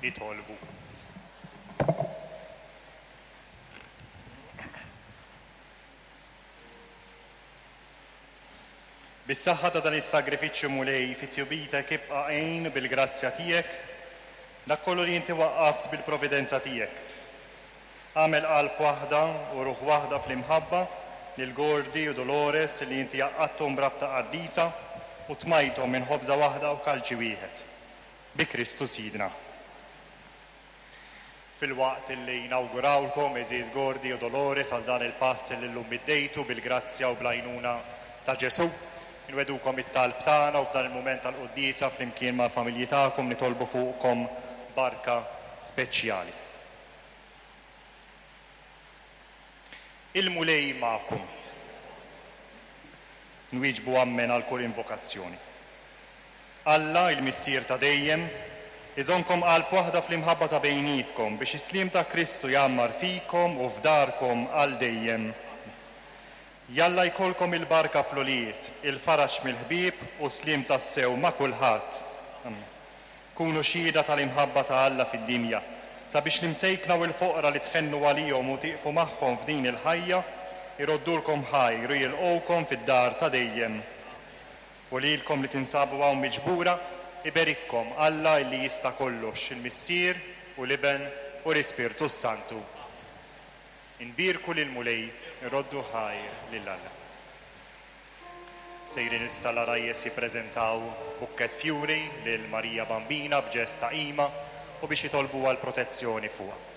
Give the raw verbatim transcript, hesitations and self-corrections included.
Nitolbu. Bis-saħħa ta' dan is-sagrifiċċju, Mulej, fit-tjubitek ibqa' għin bil-grazzja tiegħek dak kollu li inti waqqaft bil-providenza tiegħek. Agħmel qalb waħda u ruħ waħda fl-imħabba lil Gordy u Dolores li inti għaqqadthom b'rabta qaddisa u tmajthom minn ħobża waħda u kalċi wieħed. Bi Kristu Sidna. Filwaqt li nawgurawlkom, għeżież Gordy u Dolores, għal dan il-pass li llum iddejtu bil-grazzja u bl-għajnuna ta' Ġesù, inwegħdukom it-talb tagħna u f'dan il-mument tal-quddiesa flimkien mal-familji tagħkom nitolbu fuqkom barka speċjali. Il-Mulej magħkom. Nwieġbu ammen għal kull invokazzjoni. Alla, il-Missier ta' dejjem, iżommkom qalb waħda fl-imħabba ta' bejnietkom biex is-sliem ta' Kristu jgħammar fikom u f'darkom għal dejjem. Jalla jkollkom il-barka fl-ulied, il-faraġ mill-ħbieb u sliem tassew ma' kulħadd. Amen. Kunu xhieda tal-imħabba ta' Alla fid-dinja, sabiex l-imsejkna u l-foqra li tħennu għalihom u tieqfu magħhom f'din il-ħajja, iroddulkom ħajr u jilqgħukom fid-dar ta' dejjem. U lilkom li tinsabu hawn miġbura, iberikkom Alla illi jista' kollox, il-Missier u l-Iben u l-Ispirtu Santu. Inbierku lill-Mulej, irroddu ħajr lil Alla. Sejrin issa l-għarajjes jippreżentaw bukkett fjuri lil Marija Bambina b'ġest ta' qima u biex jitolbu għal protezzjoni fuqha.